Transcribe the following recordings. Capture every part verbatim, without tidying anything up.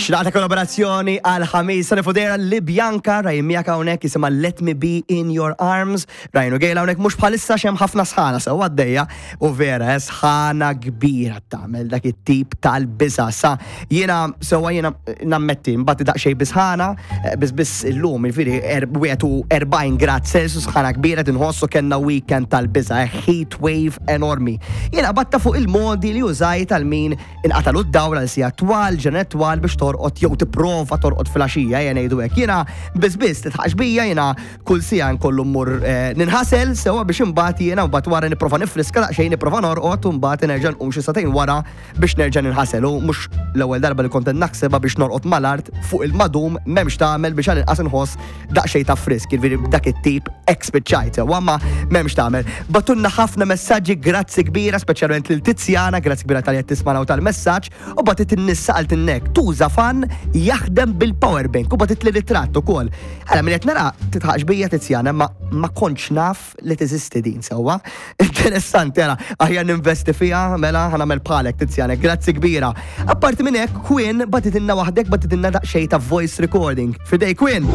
Xlaqta kollaborazzjoni għal ħamis Nifudera li Bianca Ryan miegħek hawnhekk jisimha Let Me Be In Your Arms. Ryan u Gail hawnhekk mhux bħalissa hemm ħafna sħana sew għaddejja u vera eh, sħana kbira tagħmel dak it-tip tal-biża. Sa jiena sewwa jiena nammetti mbagħad daqsxejn bisħana eh, biss biss illum jiġifieri er- wieħed u erbgħin grad Celsius, sħana kbira tinħossu, kellna weekend tal-biża, eh, heat wave enormi. Jiena batta fuq il-modi li użajt għal min inqatalu d-dawl għal sigħat twal, ġranet twal biex torqod jew tipprova torqod filgħaxija, jena ngħidu hekk. Jiena biss biss titħax bija, jiena kull siegħa nkollu mmur eh, ninħasel sewwa biex imbagħad jiena mbagħad wara nipprova nifriska daqsxejn, nipprova norqod u mbagħad nerġa' nqum xi sagħtejn wara biex nerġa' ninħasel, u mhux l-ewwel darba li kont naħsebha biex norqod mal-art fuq il-madum, m'hemmx tagħmel biex għal-inqas inħoss daqsxejn ta' frisk, jiġifieri b'dak it-tip hekk spiċċajt sewwa, ma m'hemmx tagħmel. Bagħtulna ħafna messaġġi, grazzi kbira, speċjalment lil Tiziana, grazzi kbira talli qed tismana u tal-messaġġ, u bagħtet in-nissa għal tinnek tuża fan jaħdem bil-power bank u bagħtet li ritratt ukoll. Għala minn qed nara titħaqx bija Tiziana, ma ma kontx naf li teżisti din sewwa. Interessanti, għala aħjar ninvesti fiha, mela ħa nagħmel bħalek Tiziana, grazzi kbira. Apparti minn hekk, Quinn bagħtitilna waħdek, bagħtitilna daqsxejn ta' voice recording. Fidejk, Quinn.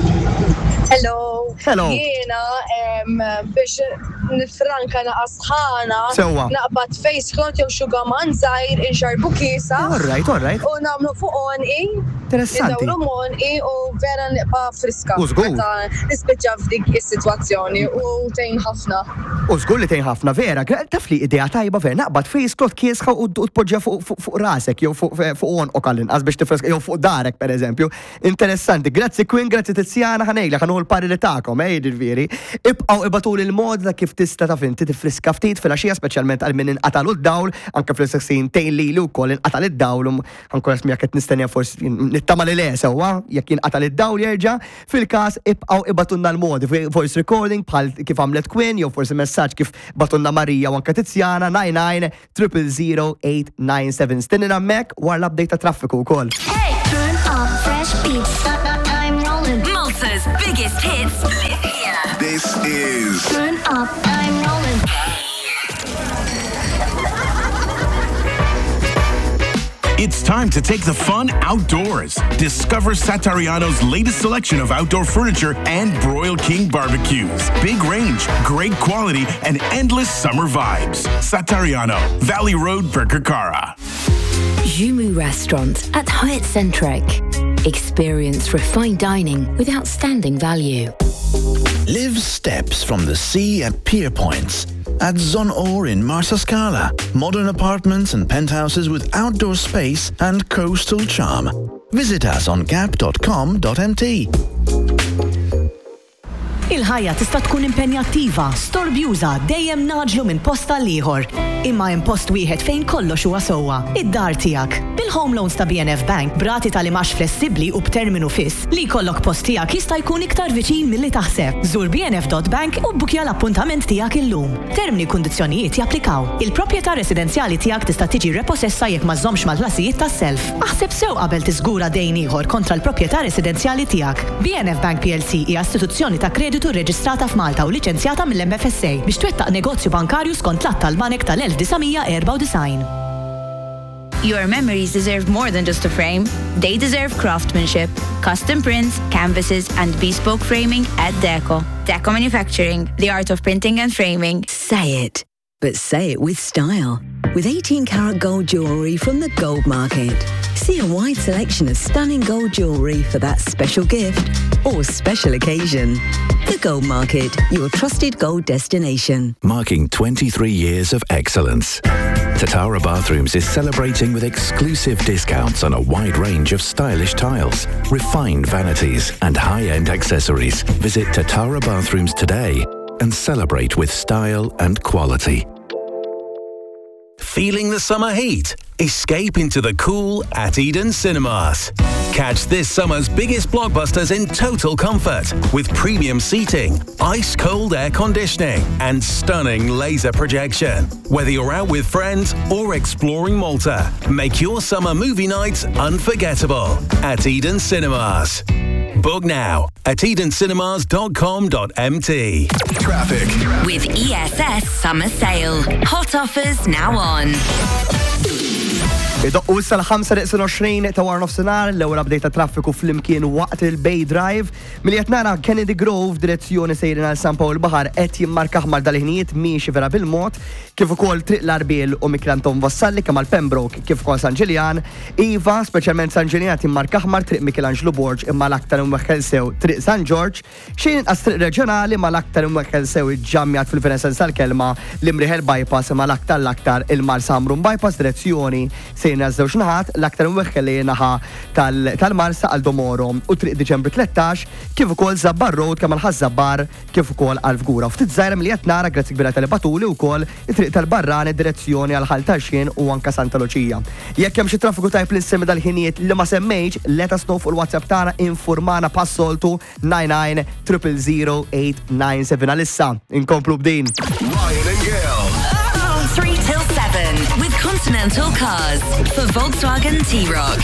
Hello. Hello. Jiena em, biex nifranka naqas sħana. Sewwa. Naqbad face cloth jew xugaman żgħir inxarbu kisa. All right, all right. U nagħmlu fuq għonqi. Interessanti. Indawru għonqi u vera nibqa' friska. U żgur. Meta nispiċċa f'dik is-sitwazzjoni u tgħin ħafna. U żgur li tgħin ħafna, vera, gra- taf li idea tajba vera, naqbad face cloth kiesħa u u tpoġġa fuq fuq- fuq rasek jew fuq fuq għonqok għall-inqas biex tifreska jew fuq darek pereżempju. Interessanti. Grazzi Quinn, grazzi Tiziana, ħa ngħidlek ħa nieħu l-pariri tagħkom, eh, jiġifieri. Ibqgħu ibagħtuli l-mod ta' kif tista' taf inti tifriska ftit filgħaxija, speċjalment għal min inqatalu d-dawl, anke fl-istess tgħin lili wkoll inqatal id-dawl, u ankora smija qed nistennija, forsi nittama li le sewwa, jekk jinqatal id-dawl jerġa', fil-każ ibqgħu ibagħtulna l-modi, voice recording bħal kif għamlet Quinn, jew forsi messaġġ kif bagħtulna Marija u anke Tiziana, nine nine triple zero eight nine seven. Stennina hemmhekk wara l-update ta' traffiku wkoll. Turn up fresh beats. I'm rolling. Malta's biggest hits live here. This is Turn up. I'm rolling. It's time to take the fun outdoors. Discover Satariano's latest selection of outdoor furniture and Broil King barbecues. Big range, great quality, and endless summer vibes. Satariano, Valley Road, Birkirkara. Jumu Restaurant at Hyatt Centric. Experience refined dining with outstanding value. Live steps from the sea at Pier Points. At Zonor in Marsascala. Modern apartments and penthouses with outdoor space and coastal charm. Visit us on gap dot com dot M T. Il-ħajja tista' tkun impenjattiva, storbjuża, dejjem ngħaġġlu minn post għal ieħor. Imma hemm post wieħed fejn kollox huwa sewwa, id-dar tiegħek. Bil-home loans ta' B N F Bank, b'rati tal-imgħax flessibbli u b'terminu fiss, li jkollok post tiegħek jista' jkun iktar viċin milli taħseb. Żur B N F dot bank u bbukja l-appuntament tiegħek illum. Termini u kundizzjonijiet japplikaw. Il-proprjetà residenzjali tiegħek tista' tiġi repossessa jekk ma żżommx mal-ħlasijiet tas-self. Aħseb sew qabel tiżgura dejn ieħor kontra l-proprjetà residenzjali tiegħek. B N F Bank P L C hija istituzzjoni ta' kreditu reġistrata f'Malta u liċenzjata mill-M F S A biex twettaq negozju bankarju skont l-Att tal-Banek tal-elf disa' mija erbgħa u disgħin. Your memories deserve more than just a frame. They deserve craftsmanship, custom prints, canvases, and bespoke framing at Deco. Deco Manufacturing, the art of printing and framing. Say it, but say it with style. With eighteen karat gold jewellery from the Gold Market. See a wide selection of stunning gold jewellery for that special gift or special occasion. The Gold Market, your trusted gold destination. Marking twenty-three years of excellence. Tatara Bathrooms is celebrating with exclusive discounts on a wide range of stylish tiles, refined vanities, and high-end accessories. Visit Tatara Bathrooms today and celebrate with style and quality. Feeling the summer heat? Escape into the cool at Eden Cinemas. Catch this summer's biggest blockbusters in total comfort with premium seating, ice cold air conditioning, and stunning laser projection. Whether you're out with friends or exploring Malta, make your summer movie nights unforgettable at Eden Cinemas. Book now at edencinemas dot com dot M T. Traffic. With E S S Summer Sale. Hot offers now on. Idoqqu issa l-ħamsa neqsin għoxrin ta' wara nofsinhar, l-ewwel update ta' traffiku flimkien waqt il-Bay Drive. Milli qed nara, Kennedy Grove direzzjoni sejrin għal San Pawl Baħar qed jimmarka aħmar dal-ħinijiet, miexi vera bil-mod, kif ukoll Triq l-Għarbiel u Mikiel Anton Vassalli kemm għal Pembroke kif ukoll San Ġiljan. Iva, speċjalment San Ġiljan qed jimmarka aħmar Triq Michelangelo Borg, imma l-aktar imweħħel sew Triq San Ġorġ, xejn inqas Triq Reġjonali ma l-aktar imweħħel sew iġġammjat fil-vera sens tal-kelma l-Imrieħel Bypass, imma l-aktar l-aktar il-Marsa Ħamrun Bypass direzzjoni sejna żewġ naħat, l-aktar imweħħel li naħa tal-Marsa għal Domoro u Triq Diċembru tlettax, kif ukoll Żabbar Road kemm għal Ħaż-Żabbar kif ukoll għal Fgura. Ftit żgħira milli qed nara, grazzi kbira talli bagħtuli wkoll it-triq tal-Barrani direzzjoni għal Ħal Tarxien u anka Santa Luċija. Jekk hemm xi traffiku tajb li nsemmi dal-ħinijiet li ma semmejx, let us know fuq il-WhatsApp tagħna, informana bħas-soltu nine nine triple zero eight nine seven. Għalissa inkomplu b'din. Ryan and Gail. three till seven with Continental Cars for Volkswagen T-Roc.